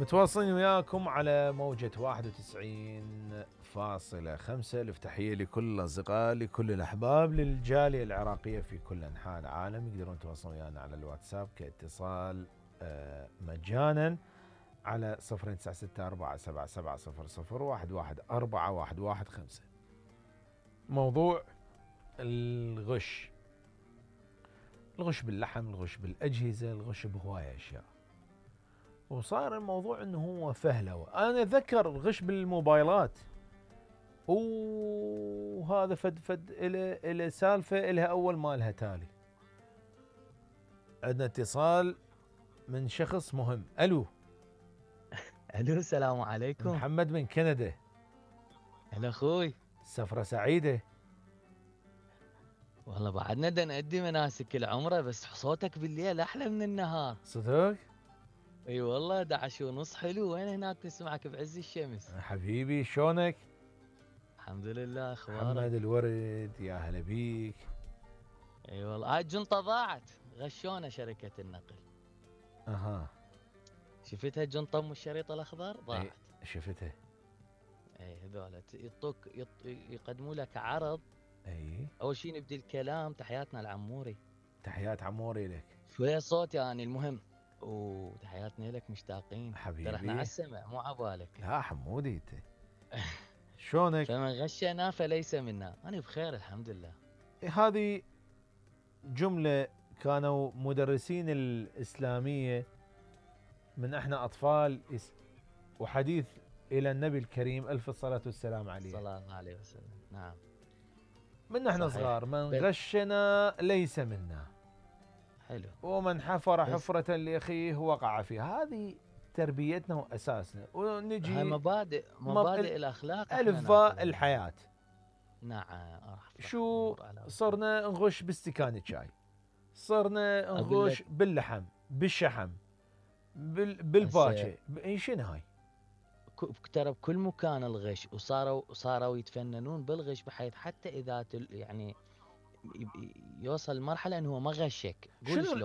متواصلين وياكم على موجة 91.5. الافتحية لكل الأصدقاء، لكل الأحباب، للجالية العراقية في كل أنحاء العالم. يقدرون يتواصلون ويانا على الواتساب كاتصال مجانا على 09647700111415. موضوع الغش باللحم، الغش بالأجهزة، الغش بهواية أشياء. وصار الموضوع انه هو فهلوه. انا اتذكر الغش بالموبايلات، وهذا فد الى سالفه الها اول ما لها تالي. عندنا اتصال من شخص مهم. الو السلام عليكم. محمد من كندا. هلا اخوي، سفره سعيده. والله بعدنا دا نأدي مناسك العمره، بس صوتك بالليل احلى من النهار. صدق؟ اي والله 11:30 حلو. وين هناك نسمعك بعز الشمس. حبيبي شلونك؟ الحمد لله. اخبارك؟ محمد الورد، يا هلا بيك. اي والله هاي الجنطه ضاعت، غشونا شركه النقل. اها، شفتها الجنطه ام الشريط الاخضر ضاعت. اي شفتها. اي هذول يقدموا لك عرض. اي اول شيء نبدي الكلام. تحياتنا العموري. تحيات عموري لك. شويه صوت يعني المهم. وتحياتنا لك، مشتاقين. حبيبي ترى احنا على السمع مو عبالك. لا حمودي انت. شلونك؟ فمن غشنا فليس منا. انا بخير الحمد لله. هذه جملة كانوا مدرسين الإسلامية من احنا أطفال، وحديث إلى النبي الكريم ألف الصلاة والسلام عليه، صلى الله عليه وسلم. نعم، من احنا صحيح. صغار: من غشنا ليس منا، حلو. ومن حفر حفرة لأخيه وقع فيها. هذه تربيتنا وأساسنا. ونجي هاي مبادئ الأخلاق. ألفاء الحياة. نعم. شو صرنا نغش باستكان الشاي، صرنا نغش باللحم، بالشحم، بالباكة. شنو هاي؟ ترى بكل مكان الغش، وصاروا يتفننون بالغش، بحيث حتى اذا يعني يوصل لمرحله انه هو ما غشك.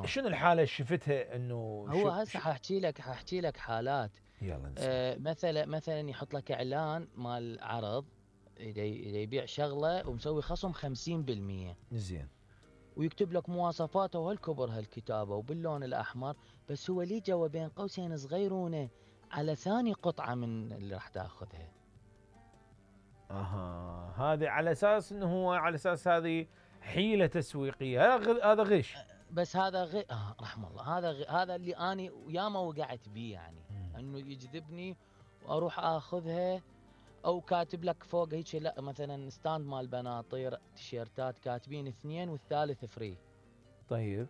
شنو الحاله اللي شفتها انه هو هسه حاحكي لك حالات. يلا نسمع. مثلا يحط لك اعلان مال عرض، اذا يبيع شغله ومسوي خصم 50%. زين. ويكتب لك مواصفاته وهالكبر هالكتابه وباللون الاحمر، بس هو لي جوا بين قوسين صغيرونه على ثاني قطعه من اللي راح تاخذها. هذه على اساس انه هو على اساس هذه حيله تسويقيه. هذا غش. بس هذا رحم الله. هذا اللي اني ياما وقعت بيه يعني. انه يجذبني واروح اخذها، او كاتب لك فوق هيك لا مثلا ستاند مال بناطير تيشيرتات كاتبين 2 والثالث فري. طيب.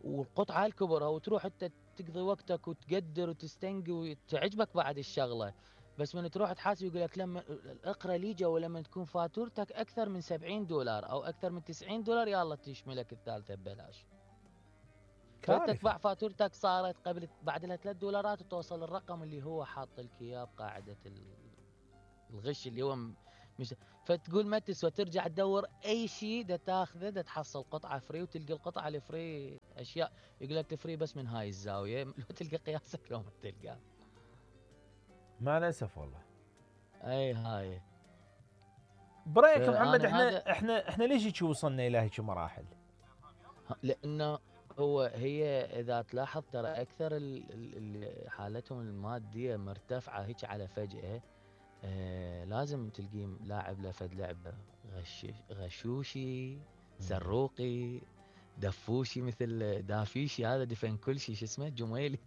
والقطعه الكبرى، وتروح انت تقضي وقتك وتقدر وتستنقي وتعجبك بعد الشغله. بس من تروح تحاسب يقول لك لما اقرا لي جو، ولما تكون فاتورتك اكثر من $70 او اكثر من $90 يلا تشملك الثالثه ببلاش. فتتبع فاتورتك صارت قبل بعد لها $3 وتوصل الرقم اللي هو حاط لك اياه بقاعده الغش اللي هو مش. فتقول ما تسوى، ترجع تدور اي شيء دا تاخذه، دا تحصل قطعه فري، وتلقى القطعه الفري اشياء يقول لك فري بس من هاي الزاويه، لو تلقى قياسك لو ما تلقى. مع الاسف والله. اي هاي. برايك محمد، احنا ليش هيك وصلنا الى هيك مراحل؟ لانه هي اذا تلاحظ ترى اكثر اللي حالتهم الماديه مرتفعه هيك على فجاه. لازم تلقيه لاعب لفد لعبه غشوشي، سروقي، دفوشي، مثل دافيشي هذا دفن كل شيء. شو اسمه؟ جميلي.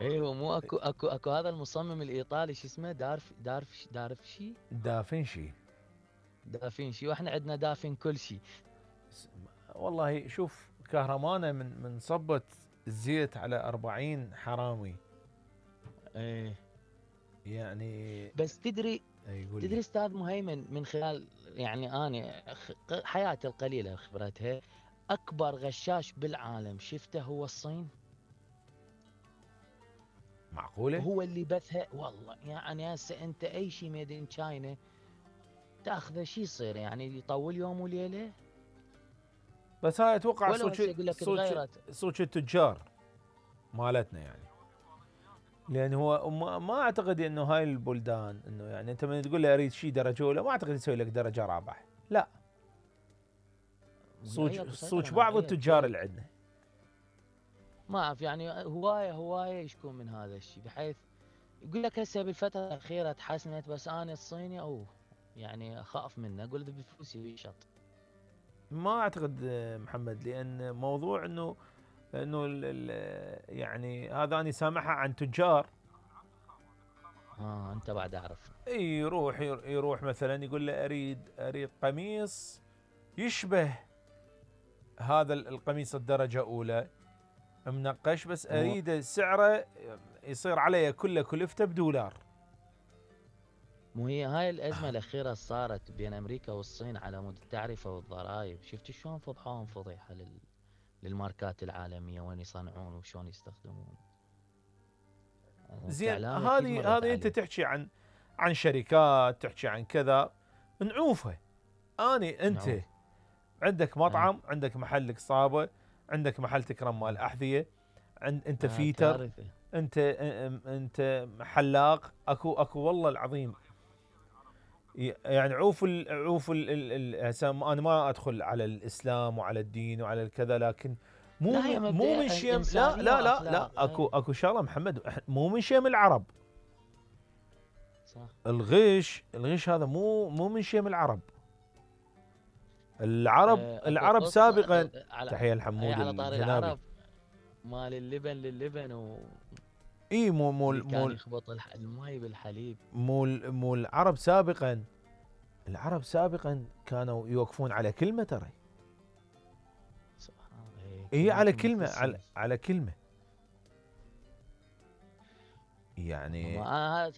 ايوه مو اكو هذا المصمم الايطالي شو اسمه؟ دافنشي. واحنا عندنا دافن كل شيء. والله شوف، كهرمانه من صبت الزيت على 40 حرامي. يعني بس تدري استاذ مهيمن، من خلال يعني انا حياتي القليله خبرتها، اكبر غشاش بالعالم شفته هو الصين. معقوله؟ هو اللي بثها والله. يعني هسه انت اي شيء ميد ان تشاينا تاخذه شو يصير؟ يعني يطول يوم وليله. بس هاي اتوقع ولو هسه يقول لك تغيرت. صوت التجار مالتنا يعني. لان هو ما اعتقد انه هاي البلدان انه يعني انت من تقول لي اريد شيء درجه اولى ما اعتقد يسوي لك درجه رابعه، لا. صوت بعض التجار اللي عندنا ما اعرف يعني هوايه يشكون من هذا الشيء، بحيث يقول لك هسه بالفتره الاخيره تحسنت، بس انا الصيني يعني اخاف منه، اقول اذا بفلوسي يشط. ما اعتقد محمد، لان موضوع انه يعني هذا انا سامعها عن تجار. انت بعد اعرف. يروح مثلا يقول له اريد قميص يشبه هذا القميص الدرجه اولى منقش، بس اريد سعره يصير عليه كله كلفته $1. مو هي هاي الازمه الاخيره صارت بين امريكا والصين على مود التعرفه والضرائب، شفت شلون فضحوهم فضيحه للماركات العالميه، وين يصنعون وشلون يستخدمون. زين هذه انت تحكي عن شركات، تحكي عن كذا نعوفه. انت عندك مطعم، عندك محل قصابه، عندك محل تكرم مال احذيه، انت فيتر، كارثة. انت حلاق، اكو والله العظيم. يعني عوف انا ما ادخل على الاسلام وعلى الدين وعلى الكذا، لكن مو من شيم. لا اكو شغله محمد، مو من شيم العرب. صح. الغش هذا مو من شيم العرب. العرب سابقا. تحيه الحمود على طار الجنابي. العرب مال اللبن للبن مو كان يخبط الماي بالحليب. مو العرب سابقا. العرب سابقا كانوا يوقفون على كلمه، ترى سبحان الله. على كلمه، على كلمه يعني.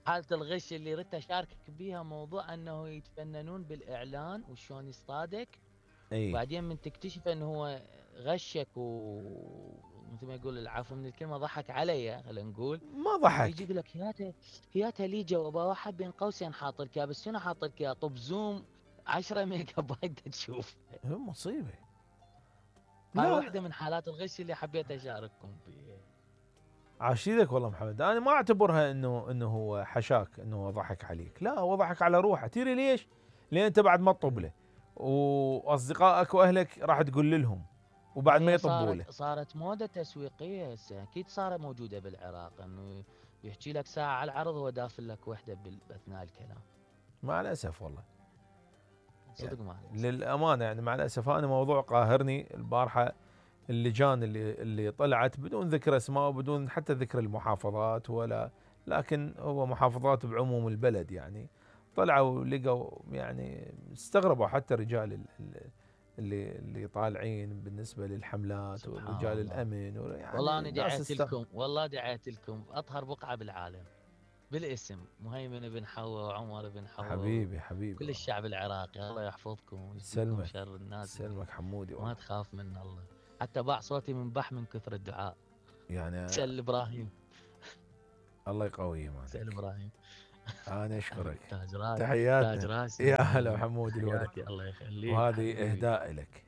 حالة الغش اللي ردت اشاركك بيها، موضوع انه يتفننون بالاعلان وشلون يصطادك. وبعدين من تكتشف انه هو غشك مثل ما يقول العفو من الكلمه، ضحك علي خلينا نقول. ما ضحك. يجي يقول لك هياته لي جوابه واحد بين قوسين حاط لك اياه، بس شنو حاط لك اياه؟ طب زوم 10 ميجا بايت تشوف. مصيبه. هاي واحده من حالات الغش اللي حبيت اشارككم فيها. عاشيدك والله محمد. انا ما اعتبرها انه هو حشاك، انه هو ضحك عليك. لا، هو ضحك على روحه. تدري ليش؟ لان انت بعد ما تطب له، واصدقائك واهلك راح تقول لهم، وبعد ما يطبوا له. صارت موده تسويقيه هسه، اكيد صارت موجوده بالعراق، انه يحكي لك ساعه على العرض هو دافل لك وحده باثناء الكلام. مع الاسف والله، صدق يعني مع الأسف. للامانه يعني مع الاسف. انا موضوع قاهرني البارحه، اللجان اللي طلعت بدون ذكر اسماء وبدون حتى ذكر المحافظات ولا، لكن هو محافظات بعموم البلد يعني. طلعوا لقوا يعني استغربوا حتى رجال اللي طالعين بالنسبه للحملات ورجال الامن يعني. والله انا دعيت لكم اطهر بقعه بالعالم بالاسم، مهيمن بن حوا وعمر بن حوا. حبيبي كل الشعب العراقي الله يحفظكم ويسلمكم شر الناس. سلمك حمودي والله. ما تخاف من الله، حتى باع صوتي من من كثر الدعاء. يعني سل ابراهيم. الله يقويه مالك. سل ابراهيم. انا اشكرك. تاج راسي. تحياتنا. يا هلا حمودي الورد. الله يخليك. وهذه اهداء لك.